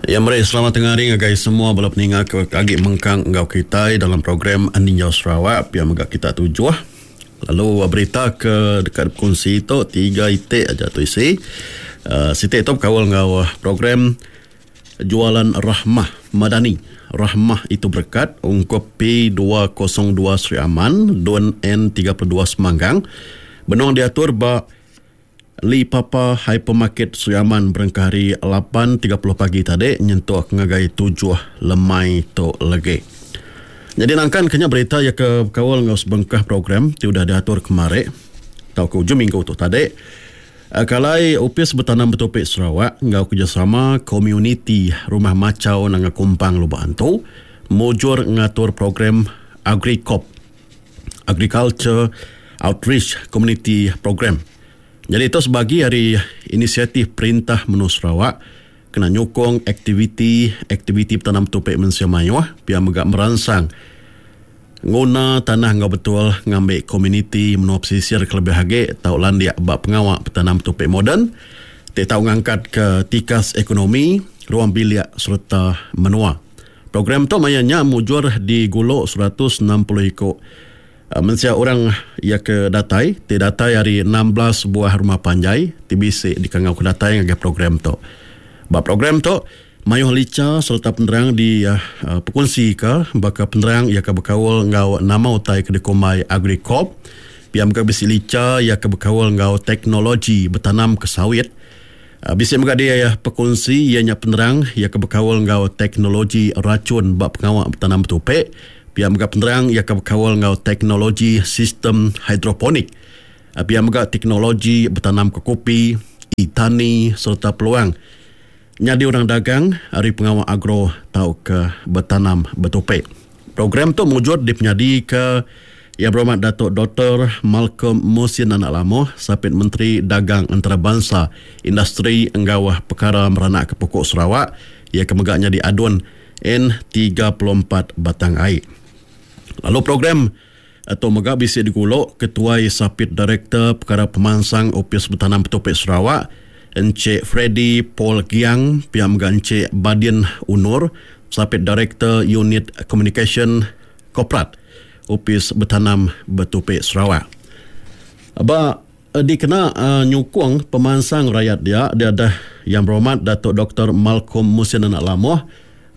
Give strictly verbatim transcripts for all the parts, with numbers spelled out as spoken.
Ya meri selamat tengah hari ngagai semua bala peninga ke agi mengkang enggau kitai dalam program Ninjau Sarawak pia mega kita tujuh. Lalu berita ke deka dikongsi tu tiga itik aja tu isi. Uh, siti tu bekaul enggau program Jualan Rahmah Madani. Rahmah itu berkat ungkup P dua kosong dua Sri Aman Dun N tiga puluh dua Semanggang. Benung diatur ba Li Papa Hypermarket Sri Aman berengkah hari lapan tiga puluh pagi tadi nyentuk ngagai tujuh lemai tu lagi. Jadi nangkan kenya berita ya ke bekaul enggau sebengkah program ti udah diatur kemari tau ke ujung minggu tu tadi. Kalai Opis Betanam Betupi Sarawak enggau kerjasama komuniti Rumah Macau Nanga Kumpang Lubok Antu mujur ngatur program AgriCop, Agriculture Outreach Community Program. Jadi itu sebagi hari inisiatif Perintah Menua Sarawak kena nyukong aktiviti-aktiviti betanam betupi mensia mayuh pia mega meransang nguna tanah enggau betul ngambil komuniti menua pesisir kelebih agi tau landik ba pengawa betanam betupi moden ti tau ngangkat ke tikas ekonomi ruang bilik serta menua. Program tu maya nya mujur diguluk seratus enam puluh iku mensia orang ia ke datai, ti datai hari enam belas buah rumah panjai ti bisi dikangau ke datai ngagai program tu. Ba program tu mayuh licha serta penerang di uh, perkongsi ke baka penerang ia ke bekaul enggau nama utai ke dikumbai AgriCop, pia mega bisi licha ia ke bekaul enggau teknologi betanam ke sawit. Uh, bisi mega dia ya perkongsi ia nya penerang ia ke bekaul enggau teknologi racun ba pengawa betanam betupi. Pia mega penerang ia ke bekaul enggau teknologi sistem hidroponik. Pia mega teknologi betanam ke kopi, itani serta peluang nyadi orang dagang ari pengawa agro tau ke betanam betupi. Program tu mujur dipenyadi ke Yang Berhormat Datuk Doktor Malcolm Musin Anak Lamoh, Sapit Menteri Dagang Antarabangsa, Industri enggau Perkara Meranak ke Pokok Sarawak, ia ke mega nyadi adun N tiga puluh empat Batang Ai. Lalu program tu mega bisi diguluk Ketuai Sapit Direktor Perkara Pemansang Opis Betanam Betupi Sarawak, Encik Freddy Paul Giang, pia mega Encik Badin Unur, Sapit Direktor Unit Communication Korporat Opis Betanam Betupi Sarawak. Ba dikena uh, nyukung pemansang rakyat dia, dia ada Yang Berhormat Datuk Doktor Malcolm Musin Anak Lamoh,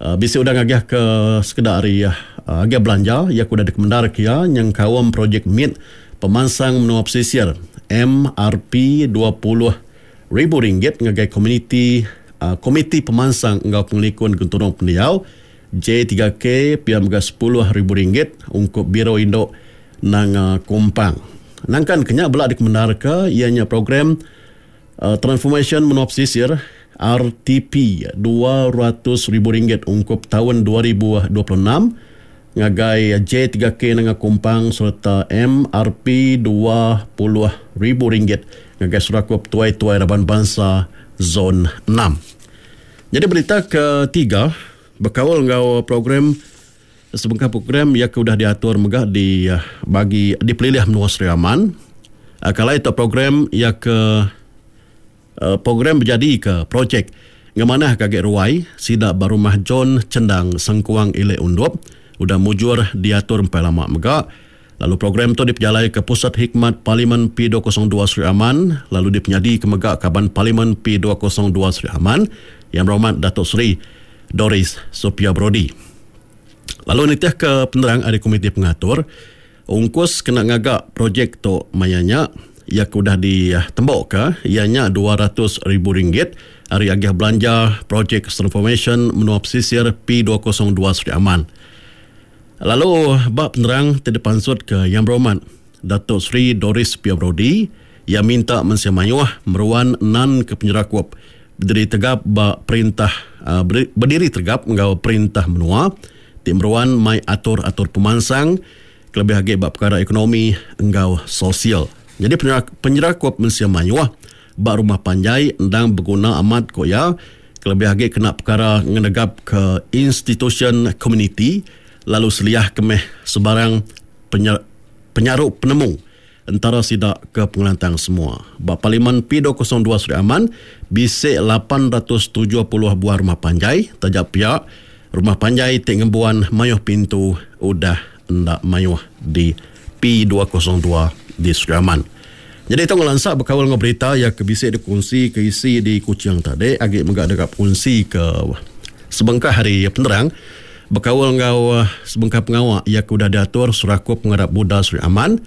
Uh, bisi udah ngagih ke sekedar hari uh, agih belanja ia udah dikemendar kia yang kaum projek M I T pemansang menua pesisir M R P dua puluh ribu ringgit ngagai komuniti uh, komiti pemansang enggau pengelikun genturung pendiau J tiga K pia mega sepuluh ribu ringgit ungkup Biro Induk Nanga Kumpang. Nangkan kenya bela dikemendar ke ianya program uh, Transformation Menua Pesisir R T P dua ratus ribu ringgit ungkup tahun dua ribu dua puluh enam ngagai J tiga K Nanga Kumpang serta M R P dua puluh ribu ringgit ngagai Serakup Tuai-Tuai Raban Bangsa Zon enam. Jadi berita ketiga berkaul enggau program sebengkah program yang udah diatur mega di bagi di Pelilih Menua Sri Aman. Kalau itu program yang ke program berjadi ke projek ngemanah kagek ruai sida barumah John Cendang Sengkuang Ilek Undup udah mujur diatur empai lama mega. Lalu program tu dipejalai ke Pusat Hikmat Parlimen P dua kosong dua Sri Aman, lalu dipenyadi ke mega Kaban Parlimen P dua kosong dua Sri Aman Yang Berhormat Datuk Seri Doris Sophia Brodie. Lalu nitih ke penerang ari komiti pengatur, ungkus kena ngagak projek tu mayanya ia ke udah ditembok ke ianya dua ratus ribu ringgit ari agih belanja projek transformation menua pesisir P dua kosong dua Sri Aman. Lalu bab penerang ti dipansut ke Yang Berhormat Datuk Seri Doris Sophia Brodie ia minta mensia mayuh meruan nan ke penyerakup berdiri tegap ba perintah berdiri tegap enggau perintah menua ti meruan mai atur-atur pemansang kelebih agi ba perkara ekonomi enggau sosial. Jadi penyerakup mensia mayuh ba rumah panjai endang berguna amat ko ya kelebih agi kena perkara ngenegap ke institution community lalu seliah kemeh sebarang penyer, penyaruk penemu entara sida ke pengelantang semua. Ba Parlimen P dua kosong dua Sri Aman bisi lapan ratus tujuh puluh buah rumah panjai taja pia rumah panjai ti ngembuan mayuh pintu udah enda mayuh di P dua kosong dua di Sri Aman. Jadi tu ngelansa berkaul dengan berita yang ke bisi dikongsi ke isi di Kuching tadi agi mega dekat kongsi ke sebengkah hari penerang berkaul dengan sebengkah pengawak yang udah diatur Serakup Pengarap Buddha Sri Aman.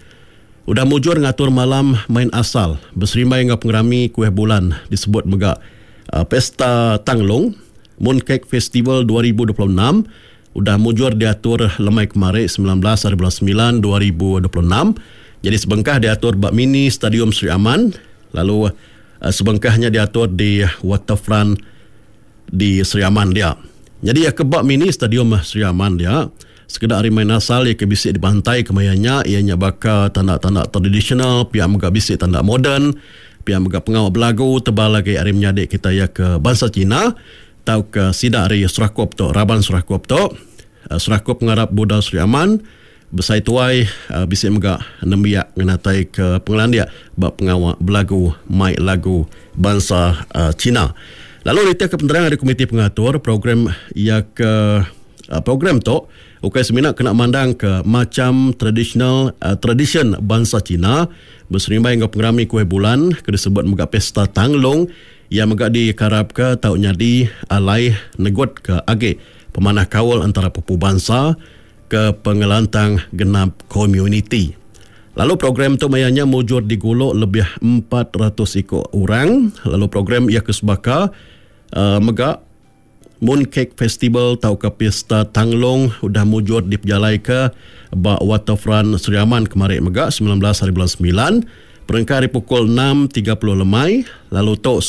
Udah mujur ngatur malam main asal berserimbai dengan pengerami kuih bulan disebut mega uh, Pesta Tanglung Mooncake Festival dua ribu dua puluh enam udah mujur diatur lemai kemarin sembilan belas hari bulan sembilan dua ribu dua puluh enam. Jadi sebengkah diatur bak mini Stadium Sri Aman, lalu uh, sebengkahnya diatur di Waterfront di Sri Aman dia. Jadi ya ke bak mini Stadium Sri Aman dia sekedar hari main asal ia ke bisik di pantai kemayanya ianya bakal tanda-tanda tradisional, pihak mega bisik tanda moden, pihak mega pengawal belagu tebal lagi hari menyadik kita ia ke bangsa Cina tau ke sidak hari Serakup tu, Raban Serakup tu, Serakup Pengarap Buddha Sri Aman besai tuai bisik mega nembiak ngenatai ke pengelandia bak pengawal belagu mai lagu bangsa Cina. Lalu rita ke penerang dari komiti pengatur program ia ke program tu ukai semina kena mandang ke macam tradisional uh, tradition bangsa Cina berserimbai dengan pengerami kuih bulan ke disebut mega Pesta Tanglung yang mega dikarap ke tau nyadi alai negut ke age pemanah kawal antara pupu bangsa ke pengelantang genap community. Lalu program tu mayanya mujur diguluk lebih empat ratus ikut orang. Lalu program ia kesebaka uh, mega Mooncake Festival tau ke Pesta Tanglung udah mujur dipejalai ke ba Waterfront Sri Aman kemarin mega sembilan belas hari bulan sembilan perengka hari pukul enam tiga puluh lemai. Lalu tu